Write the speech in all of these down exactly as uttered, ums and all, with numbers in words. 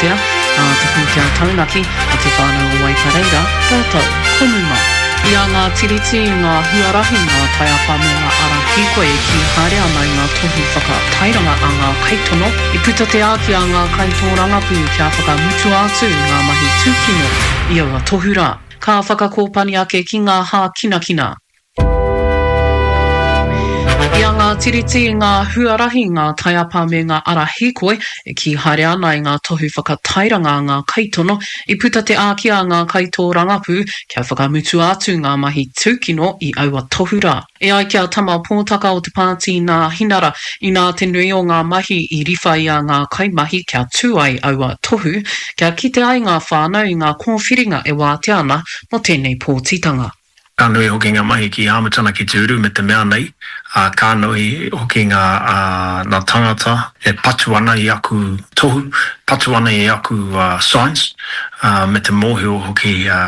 Wātea, a Te Pūtea Taunaki, a Te Whānau o Waipareira, rātou ko Muma. I a ngā tiriti, ngā huarahi, ngā taiapa me ngā ara hīkoi e kī haere ana i ngā tohu whakatairanga a ngā kaitono, i puta te āki a ngā kaitōrangapū kia whakamutua atu ngā mahi tūkino i aua tohu rā. Ka whakakōpani ake ki ngā hākinakina. I a ngā tiriti, ngā huarahi, ngā taiapa me ngā ara hīkoi e kī haere ana i ngā tohu whakatairanga a ngā kaitono, i puta te āki a ngā kaitōrangapū kia whakamutua atu ngā mahi tūkino i aua tohu rā. E ai ki a Tama Pōtaka o te pāti Nāhinara, inā te nui o ngā mahi i riwha i a ngā kaimahi kia tū ai aua tohu, kia kite ai ngā whānau i ngā kōwhiringa e wātea ana mō tēnei pōtitanga. Ka nui hoki ngā mahi ki Āmitana ki te uru me te mea nei, ā, ka nui hoki ngā, ā, ngā tangata e patu ana i aku tohu, patu ana i aku, ā, signs, ā, me te mōhio hoki, ā,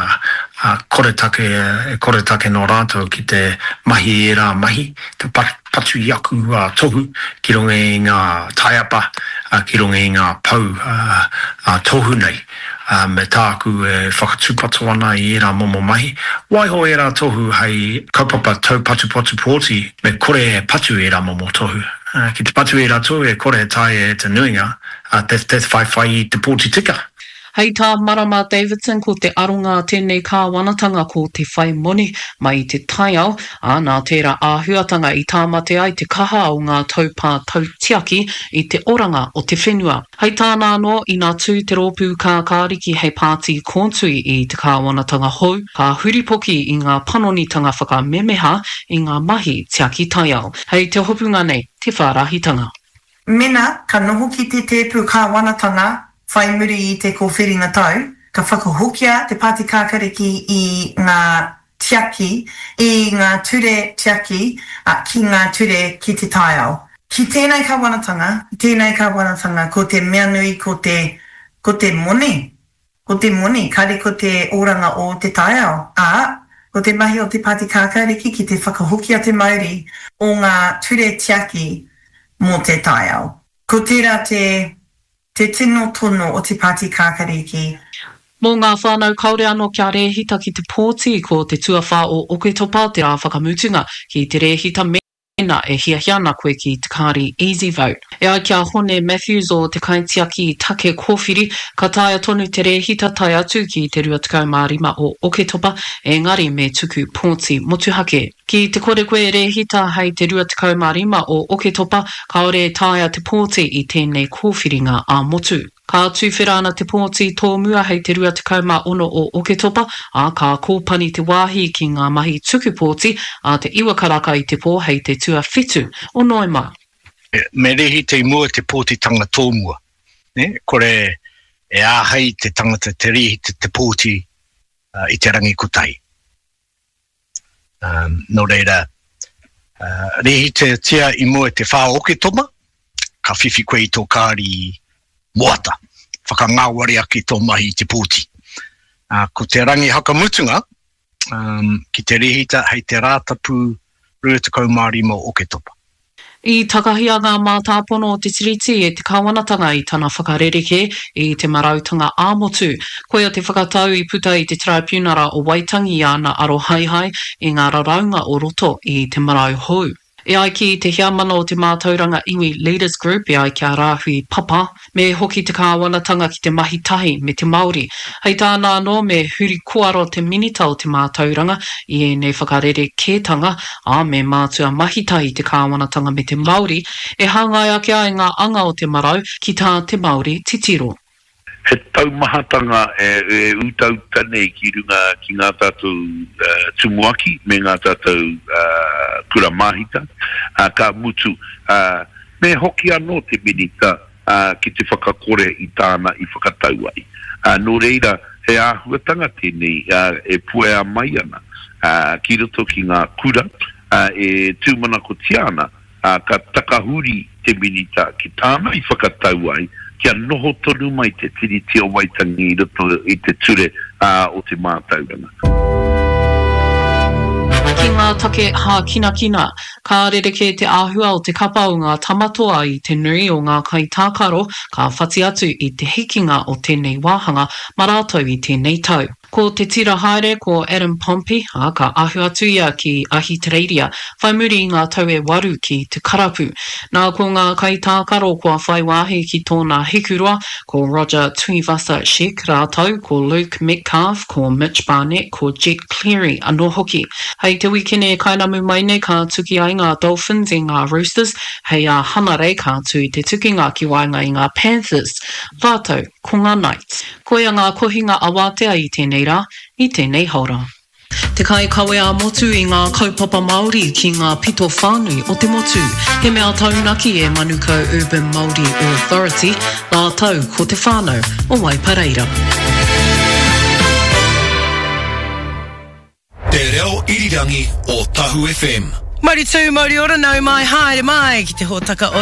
ā, koretake, e koretake nō rātou ki te mahi i ērā mahi, te patu i aku, ā, tohu ki runga i ngā taiapa, ā, ki runga i ngā pou, ā, ā, tohu nei. Ā, me tāku e whakatūpato ana i ērā momo mahi, waiho ērā tohu hei kaupapa taupatupatu pōti, me kore e patu ērā momo tohu. Ā, ki te patu ērā tohu e kore e taea e te nuinga te, te whaiwhai i te pōti tika. Hei tā Marama Davidson ko te aronga a tēnei kāwanatanga ko te whai moni mai i te taiao, ā, nā tērā āhuatanga i tāmate ai te kaha o ngā taupā tautiaki i te oranga o te whenua. Hei tāna anō, ina tū te rōpū kākāriki hei pāti kōtui i te kāwanatanga hou, ka huripoki i ngā panonitanga whakamemeha i ngā mahi tiaki taiao. Hei te hopunga nei, te whārahitanga. Mena ka noho ki te tēpu kāwanatanga whai muri i te kōwhiringa tau, ka whakahokia te Pāti Kākariki i ngā tiaki, i ngā ture tiaki ki ngā ture ki te taiao. Ki tēnei kāwanatanga, tēnei kāwanatanga, ko te mea nui ko te, ko te moni, ko te moni, kare ko te oranga o te taiao, ā, ko te mahi o te Pāti Kākāriki ki te whakahokia te mauri o ngā ture tiaki mō te taiao. Ko tērā te, te tino tono o te Pāti Kākāriki. Mō ngā whānau kāore anō kia rēhita ki te pōti, ko te tuawhā o Oketopa te rā whakamutunga ki te rēhita mēnā e hiahia ana koe ki te kāri Easy Vote. E ai ki a Hone Matthews o te Kaitiaki Take Kōwhiri, ka taea tonu te rēhita tae atu ki te rua tekau mā rima o Oketopa, engari me tuku pōti motuhake. Ki te kore koe e rēhita hei te rua tekau mā rima o Oketopa, kāore e taea te pōti i tēnei kōwhiringa ā-motu. Ka tuwhera ana te pōti tōmua hei te rua tekau mā ono o Oketopa, ā, ka kōpani te wāhi ki ngā mahi tuku pōti a te iwa karaka i te pō hei te tuawhitu o Noema. Me rēhita i mua te pōtitanga tōmua, nē, kore e āhei te tangata te rēhita te pōti i te rangi kotahi. Um, nō reira, uh, rēhitatia i mua te whā Oketopa, ka whiwhi koe i tō kāri moata, whakangāwari ake tō mahi i te pōti. Uh, ko te rangi hakamutunga, um, ki te rēhita hei te Rātapu rua tekau mā rima o Oketopa. I takahia ngā mātāpono o te Tiriti e te kāwanatanga i tana whakarerekē i te marautanga ā-motu. Koia te whakatau i puta i te Taraipiunara o Waitangi i āna arohaehae i ngā raraunga o roto i te marau hou. E ai ki te heamana o te Mātauranga Iwi Leaders Group, e ai ki a Rāhui Papa, me hoki te kāwanatanga ki te mahi tahi me te Māori. Hei tāna anō, me huri koaro te Minita o te Mātauranga i ēnei whakarerekētanga, ā, me mātua mahi tahi te kāwanatanga me te Māori, e hāngai ake ai ngā anga o te marau ki tā te Māori titiro. He taumahatanga e utauta nei ki runga ki ngā tātou tumuaki me ngā tātou kura māhita, ka mutu, me hoki anō te Minita ki te whakakore i tāna i whakatau ai. Nō reira, he āhuatanga tēnei e puea mai ana ki roto ki ngā kura e tūmanakotia ana ka takahuri te Minita ki tāna i whakatau ai kia noho tonu mai te Tiriti o Waitangi i roto i te ture o te mātauranga. Ki Ki ngā take hākinakina, ka rerekē te āhua o te kapa o ngā Tamatoa i te nui o ngā kaitākaro ka whati atu i te hikinga o tēnei wāhanga mā rātou i tēnei tau. Ko te tira haere ko Adam Pompey, ā, ka ahu atu ia ki Ahitereiria whai muri i ngā tau e waru ki te karapu. Nā, ko ngā kaitākaro kua whai wāhi ki tōna hikuroa, ko Roger Tuivasa-Sheck rātou, ko Luke Metcalf, ko Mitch Barnett, ko Jett Cleary anō hoki. Hei te wikene e kainamu mai nei ka tuki ai ngā Dolphins i ngā Roosters, hei ā Hanarei ka tū te tukinga ki waenga i ngā Panthers rātou ko ngā Knights. Koia ngā kohinga awātea i tēnei rā, i tēnei haora. Te kaikawe ā-motu i ngā kaupapa Māori ki ngā pito whānui o te motu. He mea taunaki e Manukau Urban Māori Authority rātou ko te whānau o Waipareira. Te reo irirangi o Tahu FM. Mauri tū, mauri ora, nau mai, haere mai ki te hōtaka o